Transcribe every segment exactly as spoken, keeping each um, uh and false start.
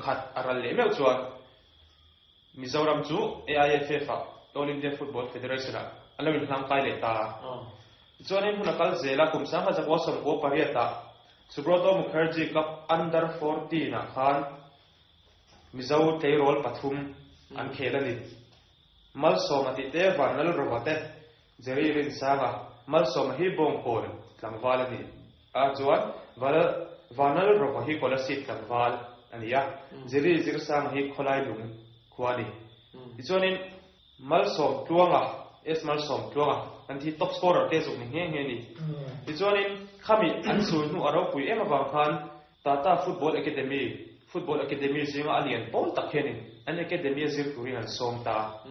khat aral le meu chuan Mizoram chu A I F F a All India Football Federation a alawin hlang kai le ta. Chuan in hun akal zela, kum sang khat zakua sawmkua pariat ah Subroto Mukherjee Cup under fourteen ah khan Mizo tleirawl pathum an khel ani. Malsawma tih te, Vanlal Rova te, Jerry Rinsanga. Malsawma hi Bawngkawn tlangval ani a, chuan Vanlal Rova hi Kolasib tlangval ani a, Jerry Zirsanga hi Khawlai lung khua ani. Tichuanin Malsawm Tluanga, S Malsawm Tluanga kan thi, top scorer te zuk ni nge nge ni. Tichuanin khami an sul hnu a ropui em awang khan Tata Football Academy, Football Academy zinga a lian pawl tak hianin an academy a zir turin an sawm ta.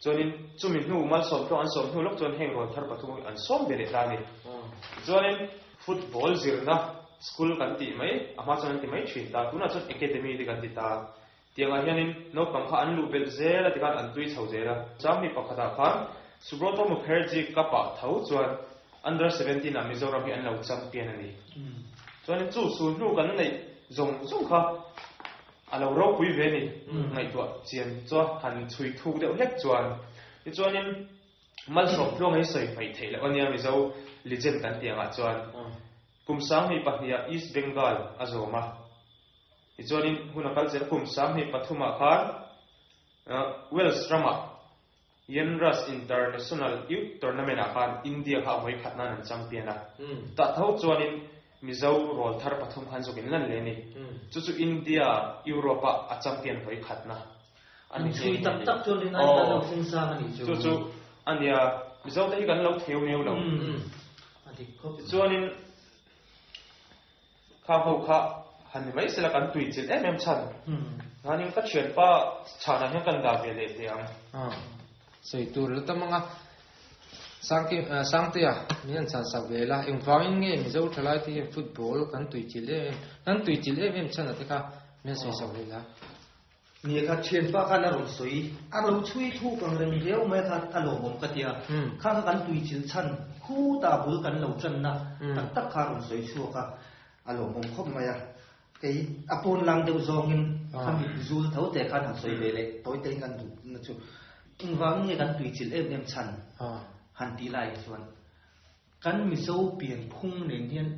Chuanin chumi hnu, Malsawm Tluang an sawm hnu lok chuan heng rawl thar pathum an sawm ve leh ta ni. Chuanin football zirna school kan tih mai, a hma chuan an ti mai thin ta, tunah chuan academy te kan ti ta. Tiangah hianin naupang kha an luh belh zel a, tikhan an tui chho zel a. Changmi pakhatah khan Subroto Mukherjee Cup ah tho chuan under seventeen ah Mizoram hi an lo champion ani. Chuanin chu sul hnu kan neih zawng zawng kha a lo ropui ve ni, ngaihtuah chian chuan, han chhui thuk deuh hlek chuan. Tichuanin Malsawm Tluang hi sawi hmaih theih loh ania Mizo legend kan tiangah chuan. Kum sang hnih pahnih ah East Bengal a zawm a. Tichuanin hun a kal zel, kum sang hnih pathumah khan Wales ramah Yenras International Youth Tournament ah khan India kha a vawi khat nan an champion a. Ta tho chuanin Mizo rawl thar pathum khan zukin lan le ni. Chu chu India Europe a champion vawi khat na. An chui tak tak chuan rin ai kan lo thleng sang ani chu. Chu chu ania, Mizo te hi kan lo theu neu lo. A dik khawp. Chuanin kha ho kha han ni mai sela, kan tui chil em em chan. Nganin ka thian pa chhana hian kan da ve le te ang. Sei tur la tamanga sangki sangtea min an chan sak ve la. Engwangin nge Mizo thalai te hian football kan tui chil em em, kan tui chil em em chan ate kha min sei sak ve la? Ni kha thian pa khan a rawn sawi, a lo chui thu kang reng riau mai kha a lawmawm ka tia. Kha kha kan tui chil chan khu ta bul kan lo chan na tak tak kha rawn sawi chhuak a, a lawmawm khawp mai a. Kei a pawn lang deuh zawngin khami zul tho te khan han sawi ve le tawi te kan du na chu, engwang nge kan tui chil em em chan han ti lai chuan kan Mizo pian phung nen hian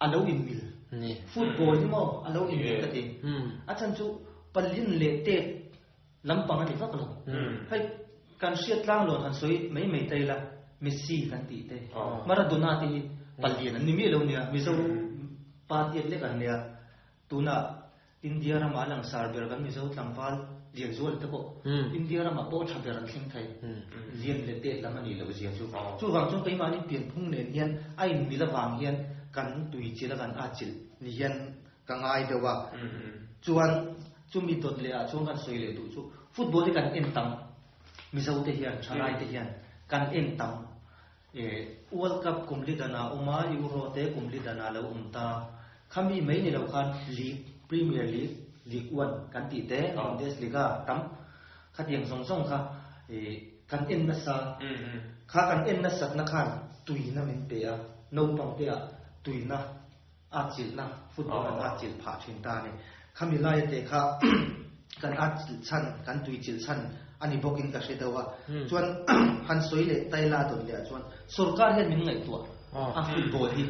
a lo in mil ni. Football hi mo a lo in mil ka ti. A chan chu palin le te lampang ani vak lo. Hei, kan hriat tlang lon han sawi mai mai tai la, Messi kan ti te, Maradona te hi palian an ni mi lo nia, Mizo pa tiat lek an nia. Tuna India rama lang sar ber kan Mizo tlangval lian zual te pawh India rama pawh tha ber an thleng thei. Lian le te lam ani lo zia chu. Chu wang chung keimahni pian phung nen hian a in mil awang hian kan tui chil a, kan a chil ni hian ka ngai deuh a. Chuan chumi dot le ah chuan kan sawi leh duh chu, football hi kan en tam, Mizo te hian, thalai te hian kan en tam e. World Cup kum li dana uma, Euro te kum li dana lo um ta, khami mai ni lo khan league, Premier League, League One kan ti te, Bundesliga tam khatiang zong zong kha e kan en na sa. Kha kan en na sat na khan tuina min pe a, naupang te a tuina a chil na, football an a chil pha thin ta ni. Khami lai te kha kan a chil chan, kan tui chil chan ani bokin ka hre dawa. Chuan han soi le taila don le chuan sarkar hian min ngai tua a football hi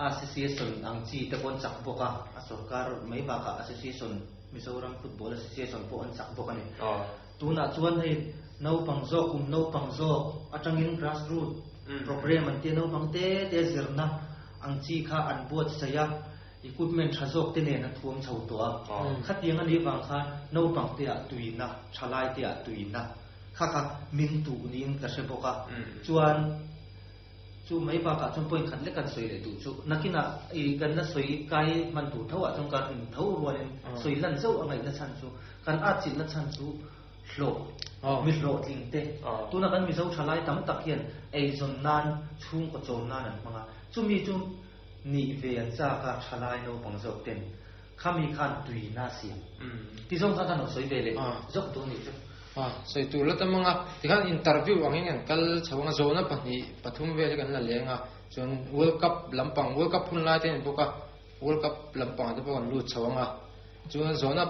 association ang chi te pon chak boka a, sarkar mai ba ka association, Mizoram Football Association pawh an chak bawk ani. Tunah chuan hei naupang zawk, kum naupang zawk atangin grassroot program an tia, naupang te te zirna ang chi kha an buat saya, equipment tha zawk te nen an thuam chho to a. Khatiang ani wang kha naupang te a tuina, thalai te a tuina kha kha min tu niin ka hre bawk a. Chuan chu mai ba ka chuan point khat lek kan soi le tu chu, nakina i kan na soi kai man tu tho a chung kan tho rualin soi lan zo angai na chan chu, kan a chil na chan chu hlo mi hlo tling te. Tuna kan Mizo thalai tam tak hian ei zon nan, chung ko chom nan an hmanga, chumi chu ni ve an cha ka thalai no pang zawk ten khami khan tui na siam ti zong kha kan soi ve le zok tu ni chu. À, sei tur la tamanga tikhan interview angin kan kal chawanga zona pahnih pathum vel kan la lenga. Chuan World Cup lampang, World Cup hun lai te boka, World Cup lampang te pawh kan lut chawanga. Chuan zona